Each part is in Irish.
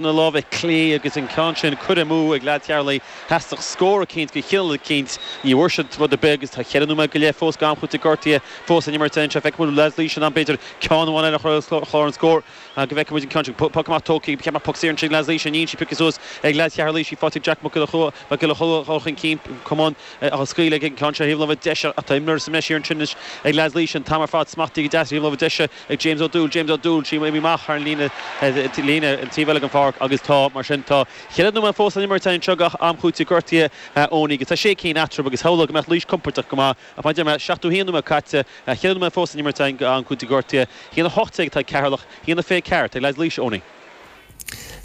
Na láimhe clé agus an ceann sin curtha amú ag leaids Cheatharlaigh. Theastaigh scór eicínt go chineál eicínt. Ní bhfuair siad rud ar bith agus tá cheithre nóiméad go leith fós d'am cúitimh gortaithe fós in imirt anseo. Feicfidh muid leaids Laoise in ann b'fhéidir ceann amháin eile a chur ar chlár an scóir. Go bhfeicfidh muid an ceann sin. Poc amach tógtha. Ba cheart go mbeadh poc saor ansin ag leaids Laoise. Níl sí pioctha suas ag leaids Cheatharlaigh. Sí faighte ag Jack Mac Giolla Chóill dul chun cinn. Camán á scaoileadh aige an ceann seo ar thaobh na láimhe deise ach tá imreoir sa mbreis thiar ansin anois ag leaids Laoise an t-am ar fad. Smachtaithe go deas ar thaobh na láimhe deise. ag James O'Doul, James O'Doul, sí imithe amach thar an líne, líne an taobh eile den pháirc agus tá, mar sin, tá cheithre nóiméad fós san imirt anseo d'am cúitimh gortaithe Eoiní agus tá sé cinn eatarthu agus shamhlófá go mbeadh Laois compordach go maith ach mar a deir mé, 71 nóiméad caite, cheithre nóiméad fós san imirt d'am cúitimh gortaithe, 1-18 atá ag Ceatharlach, 1-24 atá ag leaids Laoise, Eoiní.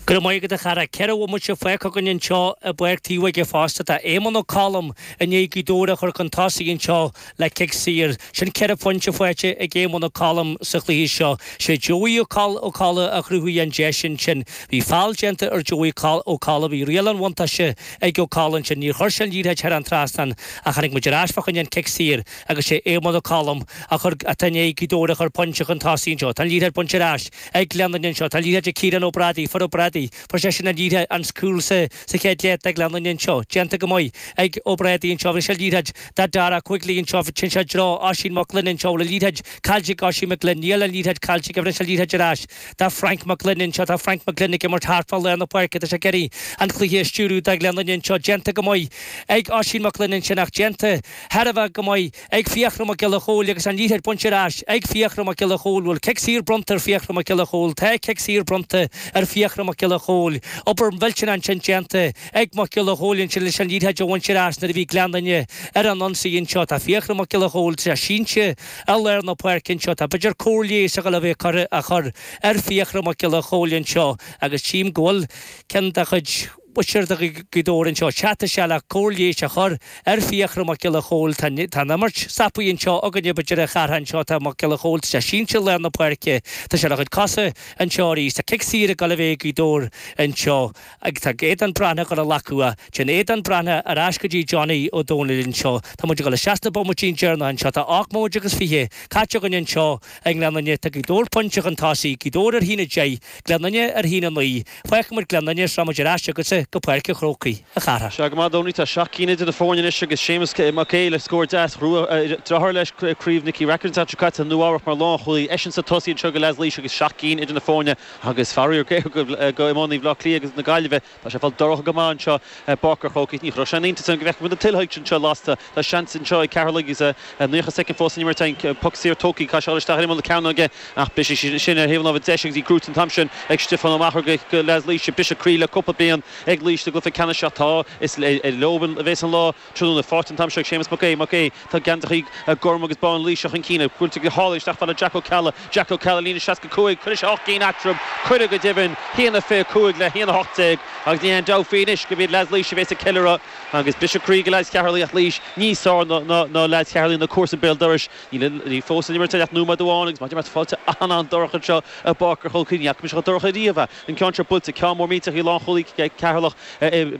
Go raibh maith agat a chara. 4 bhomaite fágtha againn anseo i bPáirc Taobh Óige fosta. Tá Éamonn Ó Colm i ndiaidh Gaoth Dobhair a chur chun tosaigh anseo le cic saor. Sin 4 phointe faighte ag Éamonn Ó Colm sa chluiche seo. Sé Joey Ó Colla a chruthaigh an deis ansin. Bhí feall déanta ar Joey Ó Colla. Bhí riail an bhuntáiste ag Ó Colla ansin. Níor chuir sé an liathróid thar an trasnán ach chonaic muid ar ais fá choinne an cic saor agus sé Éamonn Ó Colm a chur atá i ndiaidh Gaoth Dobhair a chur pointe chun tosaigh anseo. Tá an liathróid bainte ar ais ag Gleann Fhinne anseo. Tá liathróid ag Ciarán Ó Brádaigh, fuair Ó Brádaigh, fuair seisean an liathróid, an cúl sa sa chéad leath do Ghleann Fhinne anseo. Déanta go maith ag Ó Brádaigh anseo. Bhí sé liathróid do Dara Quigley anseo. Téann sé i dtreo Oisín Mac Gloinn anseo. Bhfuil an liathróid caillte ag Oisín Mac Gloinn? Níl an liathróid caillte aige. Bhí sé liathróid ar ais do Frank Mac Gloinn anseo. Tá Frank Mac Gloinn ag imirt thart fá lár na páirce. Tá sé ag iarraidh an cluiche a stiúradh do Ghleann Fhinne anseo. Déanta go maith ag Oisín Mac Gloinn ansin ach déanta thar a bheith go maith ag Fiachra Mac Giolla Chóill agus an liathróid bainte ar ais ag Fiachra Mac Giolla Chóill. Bhfuil cic saor bronnta ar Fiachra Mac Giolla Chóill? Tá cic saor bronnta ar Fiachra Mac Giolla Chóill. Obair mhillteanach ansin déanta ag Mac Giolla Chóill ansin leis an liathróid a bhaint ar ais nuair a bhí Gleann Fhinne ar an ionsaí anseo. Tá Fiachra Mac Giolla Chóill, tá sé sínte i lár na páirce anseo. Tá b'fhéidir cóir leighis a dhul a bheith curtha á chur ar Fiachra Mac Giolla Chóill anseo agus tchím go bhfuil ceann dá chuid Mhuintir Ghaoth Dobhair anseo teacht isteach le cóir leighis a chur ar Fiachra Mac Giolla Chóill. Tá an imirt stoptha anseo againne b'fhéidir a Chárthaigh anseo. Tá Mac Giolla Chóill, tá sé sínte i lár na páirce. Tá sé ar a chuid cosa anseo arís. Tá cic saor ag dul a bheith ag Gaoth Dobhair anseo agus tá Aodán Breathnach ag dul a ghlacadh. Téann Aodán Breathnach ar ais go dtí Johnny Ó Domhnaill anseo. Tá muid ag dul isteach sna bomaití deireanacha anseo. Tá 8 mbomaite agus 20 caite againn anseo i nGleann Fhinne. Tá Gaoth Dobhair pointe chun tosaigh, Gaoth Dobhair ar haon 10, Gleann Fhinne ar haon 9. Fágfaidh muid Gleann Fhinne is rachaidh muid ar ais chugatsa go Páirc an Chrócaigh, a Chárthaigh. Sea, go maith, a Dhónaill. Tá 7 gcinn idir na foirne anois agus Séamus Mac Aodha le scór deas. Ghnóthaigh deartháir leis Craobh Nicky Rackard an tseachtain seo caite i Nua Eabhrac mar lánchúlaí. Eisean sa tosaí anseo do leaids Laoise agus 7 gcinn idir na foirne agus faraor géar go iománaí Bhaile Átha Cliath agus na Gaillimhe. Tá sé ag fáil dorcha go maith anseo i bPáirc an Chrócaigh. Ní chuirfeadh sé aon iontas orm go bhfeicfeadh muid na tuilthe anseo lasta. Tá seans anseo ag Ceatharlach agus 90 soicind fós san imirt againn. Poc saor tógtha, caithfidh sé dul isteach ar imeall na cearnóige ach briseadh sin ar thaobh na láimhe deise agus í gnóite an t-am sin ag Stiofán Ó Meachair do leaids Laoise. Briseadh croí le cúpla bliain ag Laois sa gcluiche ceannais ach tá is leo a bheas an lá tráthnóna. Faighte an t-am seo ag Séamus Mac Aodha. Mac Aodha, tá geansaithe gorm agus bán Laoise chun cinn. Buailte go hálainn isteach fad le Jack Ó Ceallaigh. Jack Ó Ceallaigh líne 65. Cuirfidh sé 8 gcinn eatarthu. Cuireadh go deimhin. 1-25 le 1-18 agus níl aon dabht faoi anois gurb iad leaids Laoise a bheas ag ceiliúradh agus briseadh croí do leaids Cheatharlaigh ach Laois níos fearr ná leaids Cheatharlaigh na comharsana béal dorais. Níl fós san imirt ach nóiméad amháin agus maidir le fáilte an-an-dorcha anseo i bPáirc an Chrócaigh. Ní fhaca mise chomh dorcha riamh é. An ceann seo buailte, ceann mór millteach í lánchúlaí Cheatharlach,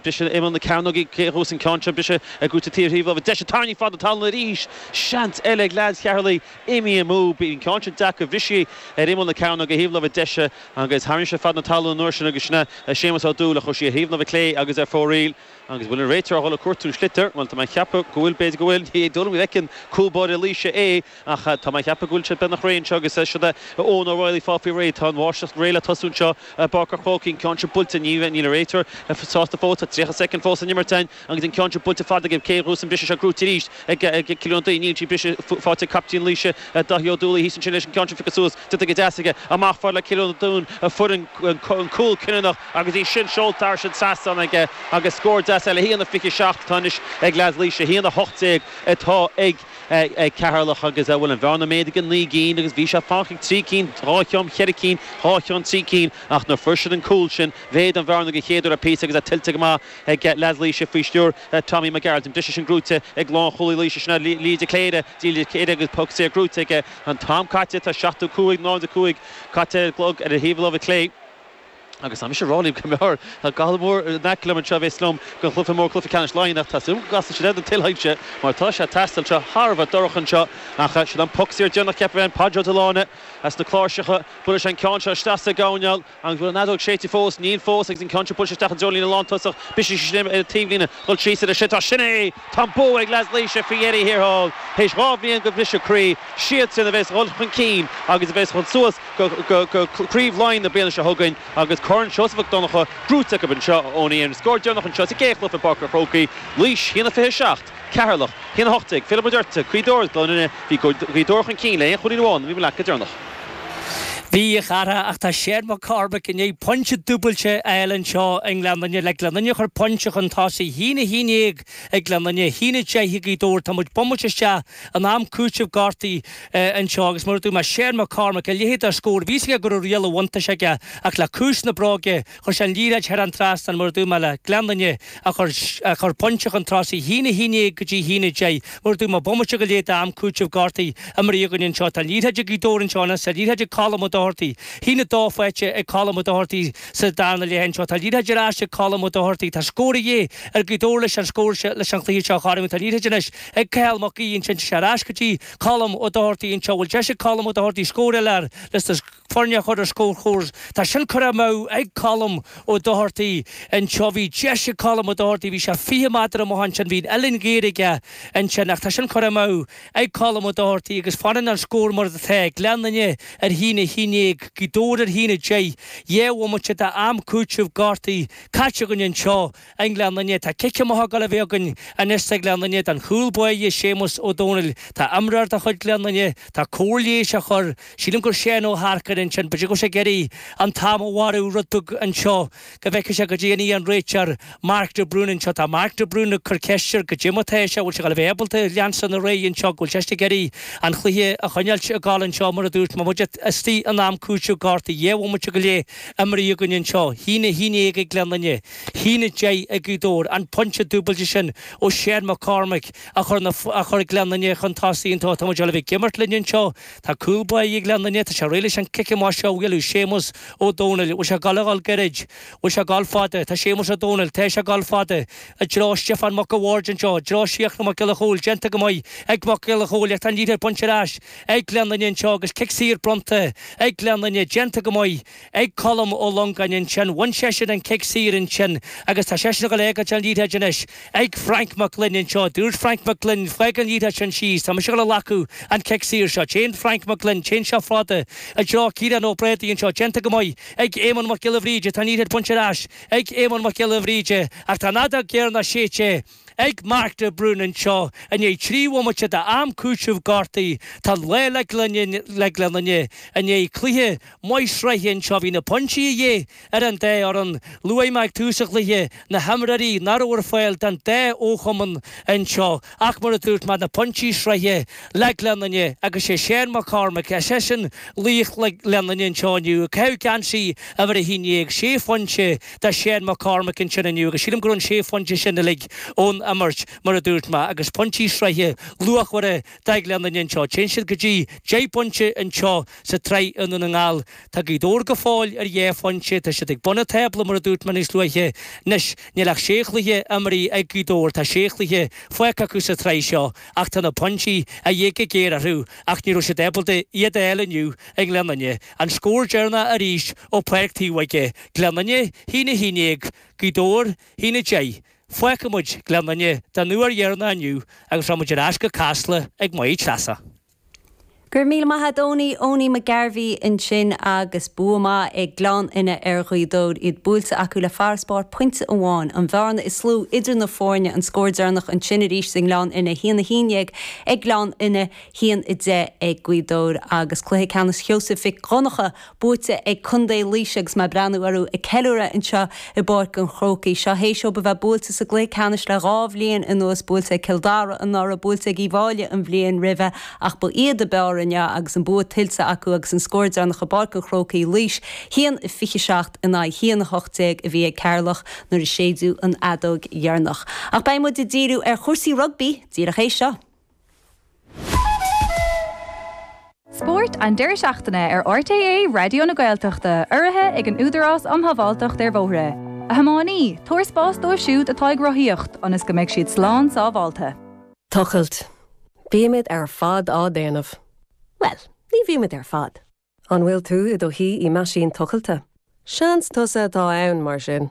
briseadh imeall na cearnóige, cé a ghnóthós an ceann seo, briseadh gnóite taobh thaobh láimhe deise, tarraingthe fad na talún arís, seans eile ag leaids Cheatharlaigh imithe amú, bhí an ceann sin deacair, bhris sí ar imeall na cearnóige thaobh láimhe deise agus tharraing sé fad na talún an uair sin agus sin é Séamus Ó Dúill a chuir sí ar thaobh na láimhe clé agus ar fóraoil. Agus bhfuil an réiteoir a dhul ag cuartú an sliotar? Bhuel, tá mé ag ceapadh go bhfuil, b'fhéidir go bhfuil, ní dóigh liom go bhfeiceann cúl báire Laoise é, ach tá mé ag ceapadh go bhfuil sé beagnach réidh anseo agus siod é Eoin O'Reilly fágtha faoi réir. Tá an bháisteach réidh le tosú anseo i bPáirc an Chrócaigh, an ceann seo buailte, níl an réiteoir sásta fós, tá 30 soicind fós san imirt againn agus an ceann seo buailte fada aige, cé a ghnóthós an briseadh seo gnóite arís ag Cillian Ó Duinn, níl sí briseadh faighte ag captaen Laoise, Daithí Ó Dúlaí thíos ansin leis an gceann seo pioctha suas, déanta go deas aige, amach fad le Cillian Ó Duinn a fuair an cúl cinniúnach. Agus í sin seolta thar an trasnán aige agus scór deas eile, 1-27 atá anois ag leaids Laoise, 1-18 atá ag Ceatharlach agus bhuel an bhearna méadaithe go 9 gcinn agus bhí sé fánach ag 3 cinn, 2 cheann, 4 cinn, 2 cheann, 3 cinn ach nuair fuair siad an cúl sin mhéadaigh an bhearna den chéad uair le píosa agus é tuillte go maith ag leaids Laoise faoi stiúir Tommy McGarrett. An briseadh sin gnóite ag lánchúlaí Laoise sin é Lee de Cléire, Lee de Cléire agus poc saor gnóite aige. An t-am caite, tá 75, 05 caite ar an gclog ar an thaobh láimhe clé. Agus tá mise ag rá libh go mbeadh tá Cathal Moore in aice liom anseo a bheas liom don chluiche mór, cluiche ceannais Laighean, ach tá súil agam go gcasfaidh siad air don tuile mar tá sé ag teastáil seo thar a bheith dorcha anseo. Ach sin an poc saor deireanach ceapfainn, Páid Ó Dioláine as na cláirseacha, buailfidh sé an ceann seo isteach sa gcoirnéal. An bhfuil an fheadóg séidte fós? Níl fós agus an ceann seo buailte isteach i dtreo líne lántosach. Bisigh sin ar an taobhlíne. Dul síos ar sin. Tá sin é! Tá an bua ag leaids Laoise faoi dheireadh thiar thall. Théis 2 bhliain de bhriseadh croí, siadsan a bheas ag dul chun cinn agus a bheas chun suas go Craobh Laighean na bliana seo chugainn agus Corn Seosamh Mhic Donncha gnóite acu anseo ón An scór deireanach anseo sa gcéad chluiche i bPáirc an Chrócaigh, Laois 1-27. Ceatharlach, 1-18, fillfidh muid ort, Gaoth Dobhair, Gleann Fhinne, bhí Gaoth Dobhair chun cinn le aon chúilín amháin, bhí muid leat go deireanach. Bhí, a chara, ach tá Seán Mac Cormaic i ndiaidh pointe dúbailte a fháil anseo i nGleann Fhinne le Gleann Fhinne a chur pointe chun tosaigh, 1-11 ag Gleann Fhinne, 1-10 ag Gaoth Dobhair. Tá muid bomaite isteach in am cúitimh gortaithe anseo agus mar a dúirt mé, Seán Mac Cormaic, a leithéid de scór, bhí fhios aige go raibh riail an bhuntáiste aige ach le cúis na bróige, Chuir sé an liathróid thar an trasnán, mar a dúirt mé, le Gleann Fhinne a chur a chur pointe chun tosaigh, 1-11 go dtí 1-10. Mar a dúirt mé, bomaite go leith d'am cúitimh gortaithe imeartha againn anseo. Tá an liathróid ag Gaoth Dobhair anseo anois, tá an liathróid ag Colm Ó Dochartaigh. 1-2 faighte ag Colm Ó Dochartaigh sa darna leath anseo. Tá an liathróid ar ais ag Colm Ó Dochartaigh. Tá scór a dhíth ar Ghaoth Dobhair leis an scór seo, leis an chluiche seo a chothromú. Tá an liathróid anois ag Cathal Mac Aoidh ansin. Tá sé ar ais go dtí Colm Ó Dochartaigh anseo. Bhfuil deis ag Colm Ó Dochartaigh scór eile a fháil leis na foirne a chur ar scórchúrsa. Tá sin curtha amú ag Colm Ó Dochartaigh anseo. Bhí deis ag Colm Ó Dochartaigh, bhí sé 20 méadar amach ansin, bhí an uillinn ghéar aige ansin ach tá sin curtha amú ag Colm Ó Dochartaigh agus fanann an scór mar atá, Gleann Fhinne ar 1-11, Gaoth Dobhair ar 1-10. 2 bhomaite d'am cúitimh gortaithe caite againn anseo I nGleann Fhinne. Tá cic amach ag dul a bheith againn anois do Ghleann Fhinne don chúl báire Séamus Ó Domhnaill. Tá imreoir de chuid Ghleann Fhinne, tá cóir leighis á chur, sílim gur Seán Ó hEarcair ansin, b'fhéidir go bhfuil sé ag iarraidh an t-am a mharú rud beag anseo go bhfeicfidh sé goidé a dhéanfaidh an réiteoir Mark de Brún anseo. Tá Mark de Brún ag cur ceist air goidé mar atá sé, bhfuil sé ag dul a bheith ábalta leanstan ar aghaidh anseo, go bhfuil seisean ag iarraidh an chluiche a choinneáilt ag dul anseo mar a dúirt mé, muid istigh in am cúitimh gortaithe, 2 bhomaite go leith imeartha againn anseo, 1-11 ag Gleann Fhinne. 1-10 ag Gaoth Dobhair, an pointe dúbailte sin ó Seán McCormick a chuir a chuir Gleann Fhinne chun tosaigh anseo. Tá muid ag dul a bheith ag imirt linn anseo. Tá cúl báire ag Gleann Fhinne. Tá sé réidh leis an cic amach seo a bhualadh. Séamus Ó Domhnaill. Bhfuil sé ag dul a dhul gairid? Bhfuil sé ag dul fada? Tá Séamus Ó Domhnaill. Tá sé ag dul fada. I dtreo Stiofán Mac a' Bhaird anseo. I dtreo Síachra Mac Giolla Chóill. Déanta go maith ag Mac Giolla Chóill ach tá an liathróid bainte ar ais ag Gleann Fhinne anseo agus cic saor bronnta ag Gleann Fhinne. Déanta go maith. ag Colm Ó Longáin ansin. Bhain seisean an cic saor ansin agus tá seisean ag dul a fhágáilt an liathróid anois ag Frank Mac Gloinn anseo. Dúirt Frank Mac Gloinn, Fág an liathróid sin síos, tá mise ag dul a ghlacadh an cic saor seo. Téann Frank Mac Gloinn, téann sé fada i dtreo Ciarán Ó Brádaigh anseo. Déanta go maith ag Éamonn Mac Giolla Bhríde. Tá an liathróid bainte ar ais ag Éamonn Mac Giolla Bhríde ach tá an fheadóg dheireanach séidte ag Mark de Brún anseo i ndiaidh 3 bhomaite d'am cúitimh gortaithe. Tá an lá le Gleann Fhinne i ndiaidh cluiche maith sraithe anseo. Bhí na pointí a dhíth ar an dá fhoireann. Luaigh mé ag tús an chluiche na himreoirí nach raibh ar fáil don dá fhochumann anseo ach mar a dúirt mé na pointí sraithe le Gleann Fhinne agus sé Seán McCormick, seisean laoch Ghleann Fhinne anseo inniu, ag caitheamh geansaí uimhir 11, sé phointe do Sheán McCormick ansin inniu agus sílim go raibh an sé phointe sin uilig ón imirt mar a dúirt mé agus pointí sraithe luachmhara do Ghleann Fhinne anseo. Téann siad go dtí 10 bpointe anseo sa tsraith i nDún na nGall. Tá Gaoth Dobhair go fóill ar dhá phointe. Tá siad ag bun an tábla mar a dúirt mé níos luaithe. Anois, níl ach sé chluiche imeartha ag Gaoth Dobhair. Tá sé chluiche fágtha acu sa tsraith seo ach tá na pointí a dhíth go géar orthu ach ní raibh siad ábalta iad a fháil inniu i nGleann Fhinne. An scór deireanach arís ó Pháirc Taobh Bhoige, Gleann Fhinne, 1-11, Gaoth Dobhair, 1-10. Fágfaidh muid Gleann Fhinne don uair dheireanach inniu agus rachaidh muid ar ais go Casla ag Maigh Treasa. Go raibh míle maith a't Owenie, Owenie McGarvey ansin agus bua maith ag Gleann Fhinne ar Ghaoth Dobhair, iad buailte acu le farasbarr pointe amháin. An bhearna is lú idir na foirne, an scór deireanach ansin arís i nGleann Fhinne, 1-11 ag Gleann Fhinne, 1-10 ag Gaoth Dobhair agus cluiche ceannais Sheosaimh Mhic Dhonncha buaite ag Contae Laoise agus mé ag breathnú orthu ag ceiliúradh anseo i bPáirc an Chrócaigh. Seo théis dóibh a bheith buailte sa gcluiche ceannais le dhá bhliain anuas, buailte ag Cill Dara anuraidh, buailte ag Uíbh Fháilí an bhliain roimhe ach ba iad a b'fhearr inniu agus an bua tuillte acu agus an scór deireanach i bPáirc an Chrócaigh, Laois 1-27 in aghaidh 1-18 a bhí ag Ceatharlach nuair a séideadh an fheadóg dheireanach. Ach beidh muid ag díriú ar chúrsaí rugbaí díreach théis seo. Spórt an deireadh seachtaine ar RTÉ Raidió na Gaeltachta, urraithe ag an Údarás um Shábháilteacht ar Bhóithre. A thiománaí, tabhair spás dóibh siúd atá ag rothaíocht ionas go mbeidh siad slán sábháilte. Tochailt. Bímid ar fad á déanamh. Bhuel, ní bhímid ar fad. An bhfuil tú i do shuí i meaisín tochailte? Seans tusa atá ann, mar sin.